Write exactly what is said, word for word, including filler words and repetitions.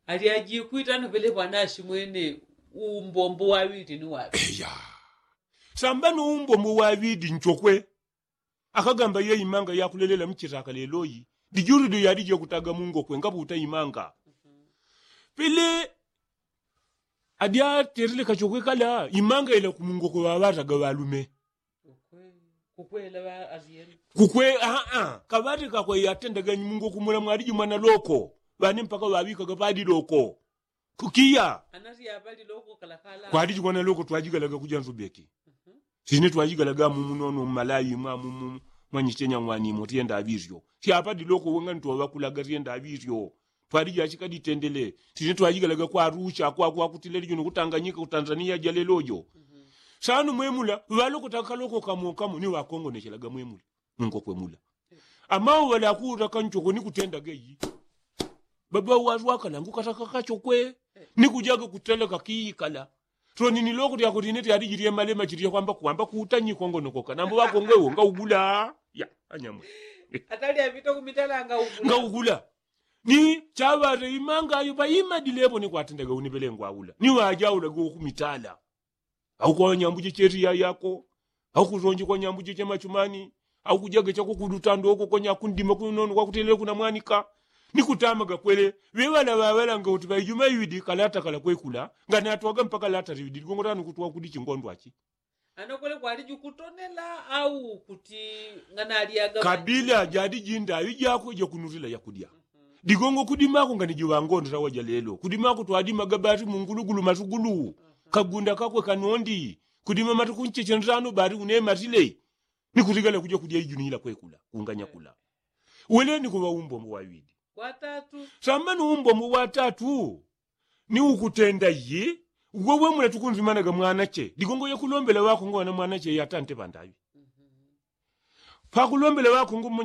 Alyajikwita nupele pwanashimwene umbombo waŵili ni waŵili. Eya. Samba no umbombo waŵili nchokwe. Akagamba ye imanga yakulelela mchitaka leloyi dijuludyo yalije kutaga mungokwe ngaputa imanga. Pele adyaterele kachokwe kala imanga ila kumungokwe ŵaŵataga ŵalume. Kukwe aa kaŵate kakwe yatendaga mungokwe mula mwaliji mwana loko. Ŵane mpaka ŵaŵikaga padi loko. Kukiya. Kwaliji kwana loko twajigalaga kuja nzubeki. Sine twajigalaga mumu nono mmalayi mwa mumu mwanyichenya ng'wanimo tyenda aŵilyo. Tyapadi loko wenga nitwaŵakulaga tyenda aŵilyo. Twaliji achikaditendele. Sine twajigalaga kwa arusha kwa kwakutile lijo nukutanganyika kutanzania jalelojo. Sano mwemula ŵalokotaka kaloko kamokamo ni ŵakongonechelaga mwemula. Mungokwe mula amau ŵalakuta kanchoko ni kutendaga iyi. Baba ŵalwakala ngukataka kachokwe ni kujaga kuteleka kiikala. Toni ni loko lyako line lyaliji lyemalema chilya kwamba kwamba kuta nyikongonokoka nambo ŵakongwe wo ngaugula. Ya anyamwe. Atali apita kumitala ngaugula. Ngaugula. Ni chaŵate imanga ayo ŵaimadilepo ni kwatendaga unipelengwa aula ni ŵajaulaga ukumitala. Au kwa nyambu jecheti yayako au kuzonji kwa nyambu jeche machumani au kujaga chako kulutando oko kwa nyakundima kunono kwakutelele kuna mwanika. Ni kutamaga kwele ŵeŵala ŵaŵalanga uti ŵaijuma iŵidi kalata kala kwekula. Nganatwaga mpaka lata liŵidi ligongo tano kutwa kudi chingondwachi. Ano kwele kwaliji kutonela au kuti nganalyaga kabila jaliji ndaŵi jako jakunutila yakudya. Digongo kudimako ngani jiŵangondela waja lelo kudimako twadimaga ŵati mungulugulu masugulu. Kagunda kakwe kanondi kudima matuku nchechentano ŵati unematile. Ni kutigala kuja kudya ijuni ila kwekula kunganya kula. Wele ni kuŵa umbombo waŵili. Samba ni umbombo watatu ni ukutenda iyi. Uwe wemula tukunzimanaga mwanache digongo yakulombela ŵakongo wana mwanache yatante ŵandaŵi. Pakulombela ŵakongo mmonya